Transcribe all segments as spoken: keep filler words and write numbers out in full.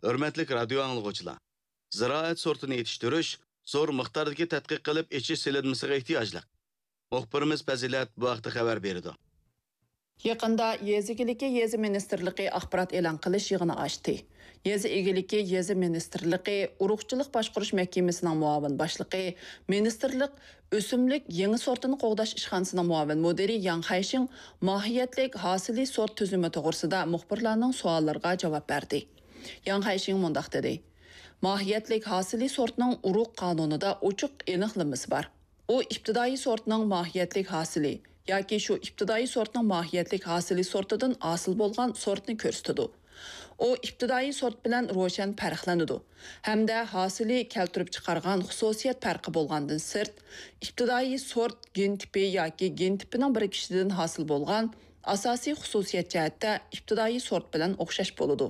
ھۆرمەتلىك رادىيو ئاڭلىغۇچىلار! زىرائەت سورتىنى يېتىشتۈرۈش زور مىقداردىكى تەتقىق قىلىپ ئېچىش سېلىنمىسىغا ئېھتىياجلىق. مۇخبىرىمىز پەزىلەت بۇ ھەقتە خەۋەر بېرىدۇ. يېقىندا يېزا ئىگىلىكى يېزا مىنىستىرلىقى ئاخبارات ئېلان قىلىش يىغىنى ئاچتى. يېزا ئىگىلىكى يېزا مىنىستىرلىقى ئۇرۇقچىلىق باشقۇرۇش مەھكىمىسىنىڭ مۇئاۋىن باشلىقى، مىنىستىرلىق ئۆسۈملۈك يېڭى سورتىنى قوغداش ئىشخانىسىنىڭ مۇئاۋىن مۇدىرى ياڭ خەيشىڭ ماھىيەتلىك ھاسىلى سورت تۈزۈمى توغرىسىدا مۇخبىرلارنىڭ سوئاللىرىغا جاۋاب بەردى. ياڭ خەيشىڭ مۇنداق دېدى: ماھىيەتلىك ھاسىلى سورتنىڭ ئۇرۇق قانۇنىدا ئوچۇق ئېنىقلىمىسى بار. ئۇ ئىپتىدائىي سورتنىڭ ماھىيەتلىك ھاسىلى ياكى شۇ ئىپتىدائىي سورتنىڭ ماھىيەتلىك ھاسىلى سورتىدىن ھاسىل بولغان سورتنى كۆرسىتىدۇ. ئۇ ئىپتىدائىي سورت بىلەن روشەن پەرقلىنىدۇ ھەمدە ھاسىلى كەلتۈرۈپ چىقارغان خۇسۇسىيەت پەرقى بولغاندىن سىرت، ئىپتىدائىي سورت گېن تىپى ياكى گېن تىپىنىڭ بىرىكىشىدىن ھاسىل بولغان ئاساسىي خۇسۇسىيەت جەھەتتە ئىپتىدائىي سورت بىلەن ئوخشاش بولىدۇ.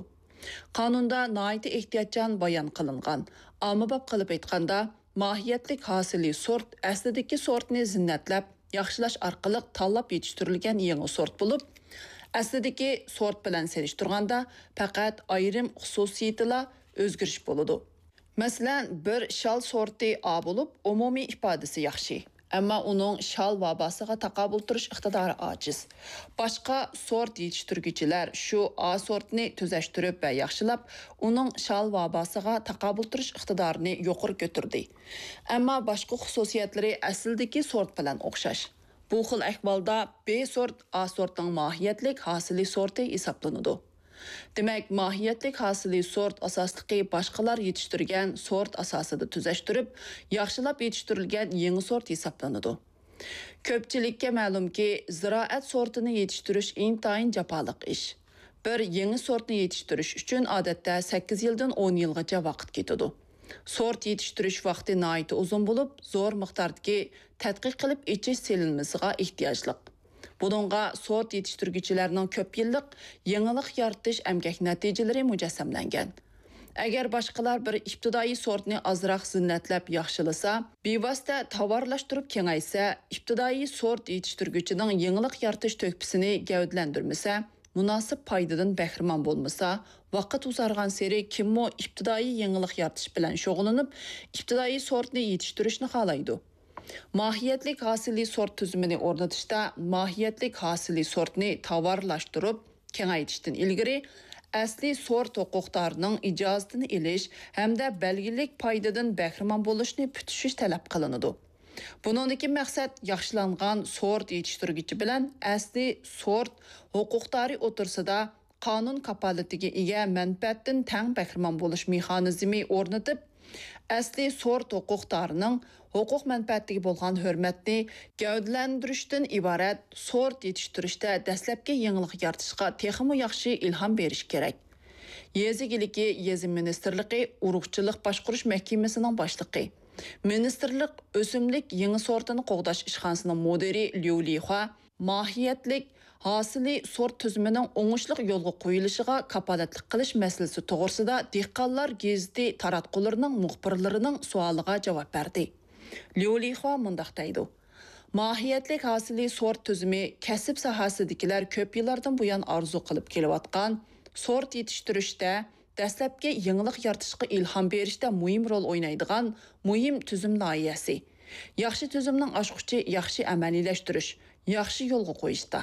قانۇندا ناھايىتى ئېھتىياتچان بايان قىلىنغان. ئاممىباب قىلىپ ئېيتقاندا، ماھىيەتلىك ھاسىلى سورت ئەسلىدىكى سورتنى زىننەتلەپ ياخشىلاش ئارقىلىق تاللاپ يېتىشتۈرۈلگەن يېڭى سورت بولۇپ، ئەسلىدىكى سورت بىلەن سېلىشتۇرغاندا پەقەت ئايرىم خۇسۇسىيىتىلا ئۆزگىرىش بولىدۇ. مەسىلەن، بىر شال سورتى ئا بولۇپ، ئومۇمىي ئىپادىسى ياخشى، ئەمما ئۇنىڭ شال ۋاباسىغا تاقابىل تۇرۇش ئىقتىدارى ئاجىز. باشقا سورت يېتىشتۈرگۈچىلەر شۇ ئا سورتنى تۈزەشتۈرۈپ ۋە ياخشىلاپ، ئۇنىڭ شال ۋاباسىغا تاقابىل تۇرۇش ئىقتىدارىنى يۇقىرى كۆتۈردى. ئەمما باشقا خۇسۇسىيەتلىرى ئەسلىدىكى سورت بىلەن ئوخشاش. بۇ خىل ئەھۋالدا ب سورت ئا سورتنىڭ ماھىيەتلىك ھاسىلى سورتى ھېسابلىنىدۇ. دېمەك، ماھىيەتلىك ھاسىلى سورت ئاساسلىقى باشقىلار يېتىشتۈرگەن سورت ئاساسىدا تۈزەشتۈرۈپ، ياخشىلاپ يېتىشتۈرۈلگەن يېڭى سورت ھېسابلىنىدۇ. كۆپچىلىككە مەلۇمكى، زىرائەت سورتىنى يېتىشتۈرۈش ئىنتايىن جاپالىق ئىش. بىر يېڭى سورتنى يېتىشتۈرۈش ئۈچۈن ئادەتتە سەككىز يىلدىن ئون يىلغىچە ۋاقىت كېتىدۇ. سورت يېتىشتۈرۈش ۋاقتى ناھايىتى ئۇزۇن بولۇپ، زور مىقداردىكى تەتقىق قىلىپ ئېچىش سېلىنمىسىغا ئېھتىياجلىق. بۇنىڭغا سورت يېتىشتۈرگۈچىلەرنىڭ كۆپ يىللىق يېڭىلىق يارىتىش ئەمگەك نەتىجىلىرى مۇجەسسەملەنگەن. ئەگەر باشقىلار بىر ئىپتىدائىي سورتنى ئازراق زىننەتلەپ ياخشىلىسا، بىۋاسىتە تاۋارلاشتۇرۇپ كېڭەيتسە، ئىپتىدائىي سورت يېتىشتۈرگۈچىنىڭ يېڭىلىق يارىتىش تۆھپىسىنى گەۋدىلەندۈرمىسە، مۇناسىپ پايدىدىن بەھرىمەن بولمىسا، ۋاقىت ئۇزارغانسېرى كىممۇ ئىپتىدائىي يېڭىلىق يارىتىش بىلەن شۇغۇللىنىپ، ئىپتىدائىي سورتنى يېتىشتۈرۈشنى خالايدۇ؟ ماھىيەتلىك ھاسىلى سورت تۈزۈمىنى ئورنىتىشتا ماھىيەتلىك ھاسىلى سورتنى تاۋارلاشتۇرۇپ كېڭەيتىشتىن ئىلگىرى، ئەسلىي سورت ھوقۇقدارىنىڭ ئىجازىتىنى ئېلىش ھەمدە بەلگىلىك پايدىدىن بەھرىمەن بولۇشنى پۈتۈشۈش تەلەپ قىلىنىدۇ. بۇنىڭدىكى مەقسەت ياخشىلانغان سورت يېتىشتۈرگۈچى بىلەن ئەسلىي سورت ھوقۇقدارى ئوتتۇرىسىدا قانۇن كاپالىتىگە ئىگە مەنپەئەتتىن تەڭ بەھرىمەن بولۇش مېخانىزمى ئورنىتىپ، ئەسلىي سورت ھوقۇقدارىنىڭ ھوقۇق مەنپەئەتىگە بولغان ھۆرمەتنى گەۋدىلەندۈرۈشتىن ئىبارەت سورت يېتىشتۈرۈشتە دەسلەپكى يېڭىلىق يارىتىشقا تېخىمۇ ياخشى ئىلھام بېرىش كېرەك. يېزا ئىگىلىكى يېزا مىنىستىرلىقى ئۇرۇقچىلىق باشقۇرۇش مەھكىمىسىنىڭ باشلىقى، مىنىستىرلىق ئۆسۈملۈك يېڭى سورتىنى قوغداش ئىشخانىسىنىڭ مۇدىرى ليۇ لىخۇا ماھىيەتلىك ھاسىلى سورت تۈزۈمىنىڭ ئوڭۇشلۇق يولغا قويۇلۇشىغا كاپالەتلىك قىلىش مەسىلىسى توغرىسىدا دېھقانلار گېزىتى تاراتقۇلىرىنىڭ مۇخبىرلىرىنىڭ سوئالىغا جاۋاب بەردى. ليۇ لىخۇا مۇنداق دەيدۇ: ماھىيەتلىك ھاسىلى سورت تۈزۈمى كەسىپ ساھەسىدىكىلەر كۆپ يىللاردىن بۇيان ئارزۇ قىلىپ كېلىۋاتقان سورت يېتىشتۈرۈشتە دەسلەپكى يېڭىلىق يارىتىشقا ئىلھام بېرىشتە مۇھىم رول ئوينايدىغان مۇھىم تۈزۈم لايىھەسى. ياخشى تۈزۈمنىڭ ئاچقۇچى ياخشى ئەمەلىيلەشتۈرۈش، ياخشى يولغا قويۇشتا.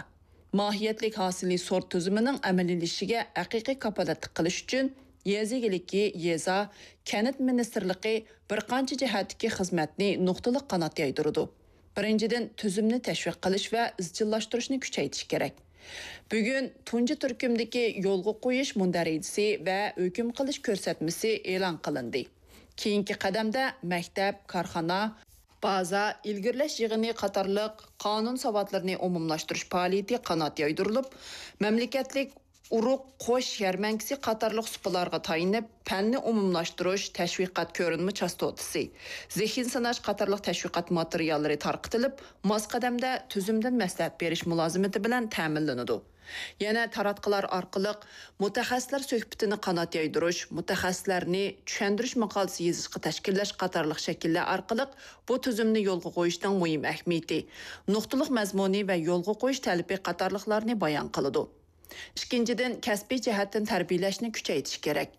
ماھىيەتلىك ھاسىلى سورت تۈزۈمىنىڭ ئەمەلىيلىشىشىگە ھەقىقىي كاپالەتلىك قىلىش ئۈچۈن، يېزا ئىگىلىكى، يېزا، كەنت مىنىستىرلىقى بىر قانچە جەھەتتىكى خىزمەتنى نۇقتىلىق قانات يايدۇرىدۇ. بىرىنچىدىن، تۈزۈمنى تەشۋىق قىلىش ۋە ئىزچىللاشتۇرۇشنى كۈچەيتىش كېرەك. بۈگۈن تۇنجى تۈركۈمدىكى يولغا قويۇش مۇندەرىجىسى ۋە ھۆكۈم قىلىش كۆرسەتمىسى ئېلان قىلىندى. كېيىنكى قەدەمدە مەكتەپ، كارخانا، بازا، ئىلگىرىلەش يىغىنى قاتارلىق قانۇن ساۋاتلىرىنى ئومۇملاشتۇرۇش پائالىيىتى قانات يايدۇرۇلۇپ، مەملىكەتلىك ئۇرۇق قوش يەرمەنكىسى قاتارلىق سۇپىلارغا تايىنىپ، پەننى ئومۇملاشتۇرۇش، تەشۋىقات كۆرۈنمە چاستوتىسى، زېھىن سىناش قاتارلىق تەشۋىقات ماتېرىياللىرى تارقىتىلىپ، ماس قەدەمدە تۈزۈمدىن مەسلىھەت بېرىش مۇلازىمىتى بىلەن تەمىنلىنىدۇ. يەنە تاراتقۇلار ئارقىلىق مۇتەخەسسىسلەر سۆھبىتىنى قانات يايدۇرۇش، مۇتەخەسسىسلەرنى چۈشەندۈرۈش ماقالىسى يېزىشقا تەشكىللەش قاتارلىق شەكىللەر ئارقىلىق بۇ تۈزۈمنى يولغا قويۇشنىڭ مۇھىم ئەھمىيىتى، نۇقتىلىق مەزمۇنى ۋە يولغا قويۇش تەلىپى قاتارلىقلارنى بايان قىلىدۇ. ئىككىنچىدىن، كەسپىي جەھەتتىن تەربىيەلەشنى كۈچەيتىش كېرەك.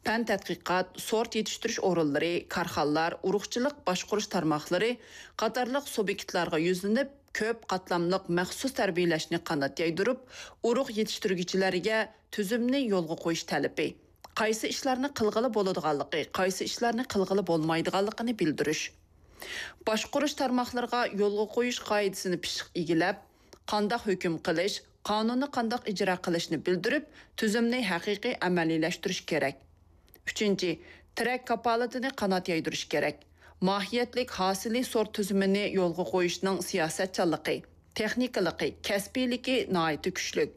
پەن تەتقىقات، سورت يېتىشتۈرۈش ئورۇنلىرى، كارخانىلار، ئۇرۇقچىلىق باشقۇرۇش تارماقلىرى قاتارلىق سۇبيېكتلارغا يۈزلىنىپ، كۆپ قاتلاملىق مەخسۇس تەربىيەلەشنى قانات يايدۇرۇپ، ئۇرۇق يېتىشتۈرگۈچىلەرگە تۈزۈمنى يولغا قويۇش تەلىپى، قايسى ئىشلارنى قىلغىلى بولىدىغانلىقى، قايسى ئىشلارنى قىلغىلى بولمايدىغانلىقىنى بىلدۈرۈش. باشقۇرۇش تارماقلىرىغا يولغا قويۇش قائىدىسىنى پىششىق ئىگىلەپ، قانداق ھۆكۈم قىلىش، قانۇننى قانداق ئىجرا قىلىشنى بىلدۈرۈپ، تۈزۈمنى ھەقىقىي ئەمەلىيلەشتۈرۈش كېرەك. ئۈچىنچى، تىرەك كاپالىتىنى قانات يايدۇرۇش كېرەك. ماھىيەتلىك ھاسىلىي سورت تۈزۈمىنى يولغا قويۇشنىڭ سىياسەتچانلىقى، تېخنىكىلىقى، كەسپىيلىكى ناھايىتى كۈچلۈك.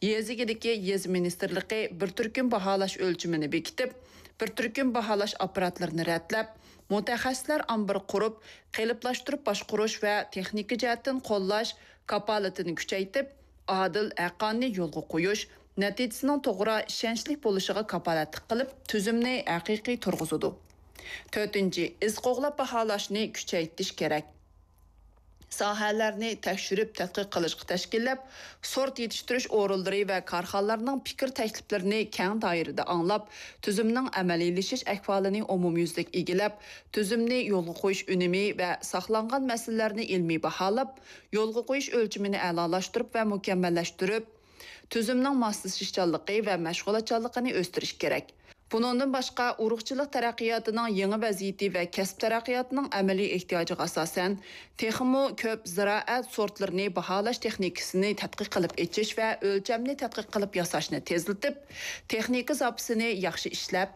يېزا ئىگىلىكى، يېزا مىنىستىرلىقى بىر تۈركۈم باھالاش ئۆلچىمىنى بېكىتىپ، بىر تۈركۈم باھالاش ئاپپاراتلىرىنى رەتلەپ، مۇتەخەسسىسلەر ئامبىرى قۇرۇپ، قېلىپلاشتۇرۇپ باشقۇرۇش ۋە تېخنىكا جەھەتتىن قوللاش كاپالىتىنى كۈچەيتىپ، ئادىل، ھەققانىي يولغا قويۇش، نەتىجىسىنىڭ توغرا، ئىشەنچلىك بولۇشىغا كاپالەتلىك قىلىپ، تۈزۈمنى ھەقىقىي تۇرغۇزىدۇ. تۆتىنچى، ئىز قوغلاپ باھالاشنى كۈچەيتىش كېرەك. ساھەلەرنى تەكشۈرۈپ تەتقىق قىلىشقا تەشكىللەپ، سورت يېتىشتۈرۈش ئورۇنلىرى ۋە كارخانىلارنىڭ پىكىر تەكلىپلىرىنى كەڭ دائىرىدە ئاڭلاپ، تۈزۈمنىڭ ئەمەلىيلىشىش ئەھۋالىنى ئومۇميۈزلۈك ئىگىلەپ، تۈزۈمنى يولغا قويۇش ئۈنۈمى ۋە ساقلانغان مەسىلىلەرنى ئىلمىي باھالاپ، يولغا قويۇش ئۆلچىمىنى ئەلالاشتۇرۇپ ۋە مۇكەممەللەشتۈرۈپ، تۈزۈمنىڭ ماسلىشىشچانلىقى ۋە مەشغۇلاتچانلىقىنى ئۆستۈرۈش كېرەك. بۇنىڭدىن باشقا، ئۇرۇقچىلىق تەرەققىياتىنىڭ يېڭى ۋەزىيىتى ۋە كەسىپ تەرەققىياتىنىڭ ئەمەلىي ئېھتىياجىغا ئاساسەن، تېخىمۇ كۆپ زىرائەت سورتلىرىنى باھالاش تېخنىكىسىنى تەتقىق قىلىپ ئېچىش ۋە ئۆلچەمنى تەتقىق قىلىپ ياساشنى تېزلىتىپ، تېخنىكا زاپىسىنى ياخشى ئىشلەپ،